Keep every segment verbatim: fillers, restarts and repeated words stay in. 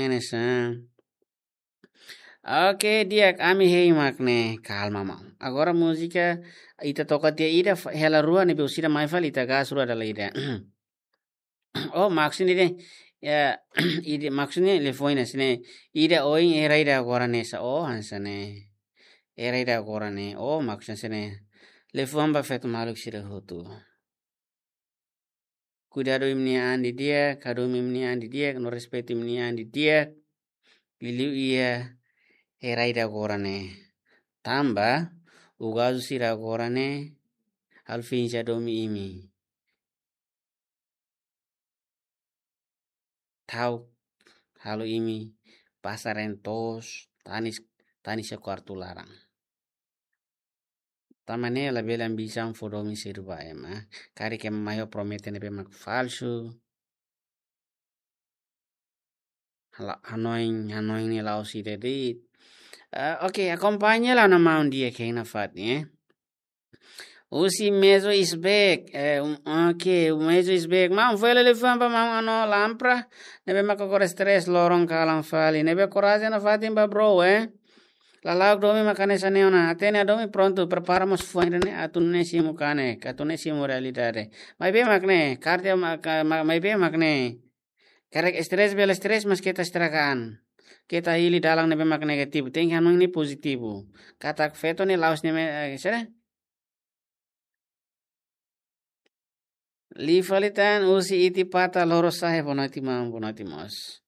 Ne'e sa. Oke, di'ak, ami hein mak ne'e, kalma maun. Agora múzika ita toka tiha ida fa-, hela rua ne'ebé orsida mai fali ita gas rua dala ida. Oh, maksudnya deh. Ya, ida maksudnya liafuan ne'e sini. Ida oin, hera ida agora ne'e sa. Oh, hanesan ne'e. Hera ida agora ne'e. Oh, maksudnya sini. Liafuan ba feto maluk sira hotu. Kuidadu imi-nia an didi'ak, hadomi imi-nia an didi'ak, no respeitu imi-nia an didi'ak. Liuliu iha hera ida agora ne'e. Tanba, ugazu sira agora ne'e, halo finja hadomi imi. Ta'uk halo imi pasa reen toos, tanis, tanis iha kuartu laran. Tanba ne'e labele ambisaun fó domin sira ba ema. Karik ema mai ho promete ne'ebé mak falsu. La-, hanoin, hanoin ne'e la'ós ida de'it. Ah, oke, akompaña lai ona maun di'ak hein nafatin, eh. Husi Mezo is back. Eh, um, oke, Mezo is back. Maun, fó hela liafuan ba maun Ano Lampra. Ne'ebé mak agora stress loron kalan fali. Ne'ebé korajen nafatin ba bro, eh. Lala'ok domin mak hanesan ne'e ona. Hatene hadomi prontu, prepara mós fuan ida-ne'e, atu nune'e simu kanek, atu nune'e simu realidade. Maibé mak ne'e, kardia ma-, ka-, ma-, maibé mak ne'e. Karik stress bele stress, mas keta estraga an. Keta hili dalan ne'ebé mak negativu. Tenke hanoin ne'e pozitivu. Katak feto ne'e la'ós ne'e me-, eh, sere? Liu fali tan, husi Iti Pata, Lorosa'e, boa noite maun, boa noite mós.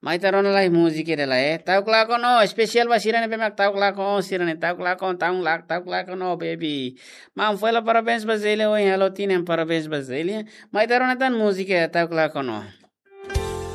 Mai ita rona lai múzika ida lai, eh. Ta'uk lakon ó, espesiál ba sira ne'ebé mak ta'uk lakon ó, sira ne'e ta'uk lakon, ta'uk lak-, ta'uk lakon ó, baby. Maun, fó hela parabéns ba Zelia, ohin halo tinan, parabéns ba Zelia. Mai ita rona tan múzika, ta'uk lakon ó.